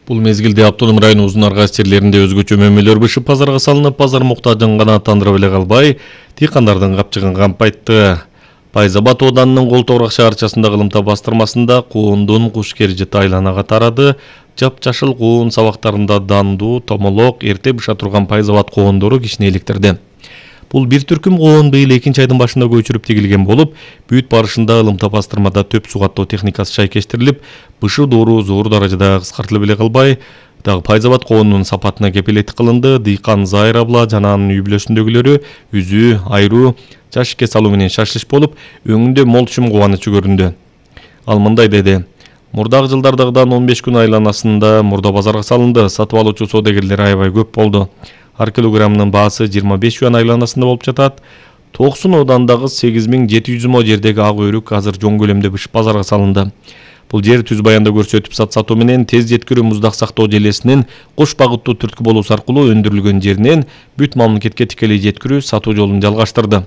Бул мезгилде Автоном району Узун Аргас жерлеринде өзгөчө мөмөлөр бышып базарга салынып, базар муктажын гана тандырып эле калбай, дыйкандардын капчыгын кампайтты. Пайзабад ооданынын Кол Тобурак шаарчасындагы ылымта бастырмасында куундун куш кержети айланага тарады. Жапжашыл куун сабактарында данду, томолок, эрте быша турган пайзабад коондору кишини электирди. Бул бир түркүм коон быйыл 2-айдын башында көчүрүп тигилген болуп, бүт барышында ылымта бастырмада төп суу каттоо техникасы шайкештирилип, бышы доору зор даражада кыскартылып эле калбай, дагы пайзабад коонунун сапатына кепилеттик кылынды. Дыйкан Зайыр абла жана анын үй бүлөсүндөгүлөрү үзүү, айруу, жашикке салуу менен шашлыш болуп, өңүндө мол чым кубанычы көрүндү. Ал мындай деди: Мурдагы жылдардагыдан 15 күн айланасында мурда базарга салынды. Сатып алуучу соодагерлер аябай көп болду. Ар килограммынын баасы 25 юан айланасында болуп жатат. Токсун оодандагы 8700 мо жердеги ак өрүк азыр жоң көлөмдө бышып базарга салынды. Бул жер түз баянда көрсөтүп сатуу менен тез жеткирүү муздак сактоо желесинин кош багыттуу түрткү болуусу аркылуу өндүрүлгөн жеринен бүт мамлекетке тикелей жеткирүү сатуу жолун жалгаштырды.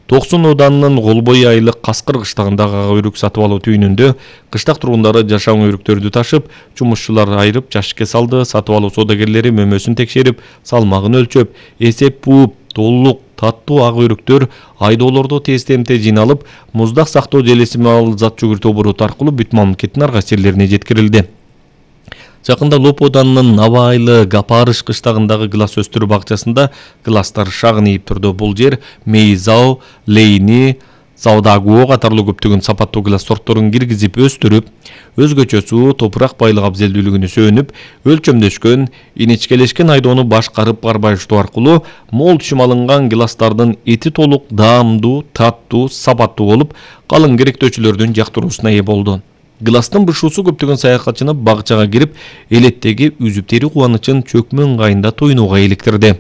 Токсун ооданынын Голбой айылык Каскыр кыштагындагы ак өрүк сатып алуу түйүнүндө кыштак тургундары жашаң өрүктөрдү ташып, жумушчулар айырып жашикке салды. Сатып алуу соодагерлери мөмөсүн текшерип, салмагын өлчөп, эсеп бууп, толук таттуу ак өрүктөр айдоолордо тез-темте жыйналып, муздак сактоо желеси менен зат жүгүртүү обороту аркылуу бүт мамлекеттин ар кайсы жерлерине жеткирилди. Жакында Лоп ооданынын Наба айылы Гапарыш кыштагындагы гылас өстүрүү бакчасында гыластар шагын ийип турду. Бул жер Мейзау, Лейни, Заудагуо катарлуу көптөгөн сапаттуу гылас сортторун киргизип өстүрүп, өзгөчө суу, топурак байлык абзелдүүлүгүнө сөөнүп, өлчөмдөшкөн, иничкелешкен айдоону башкарып карбайыштоо аркылуу мол түшүм алынган гыластардын эти толук, даамдуу, таттуу, сапаттуу болуп, калың керектөөчүлөрдүн жактыруусуна ээ болду. Гыластын бышуусу көптөгөн саякатчыны багчага кирип, элеттеги үзүп тери кубанычын чөкмө ыңгайында тойнууга иликтирди.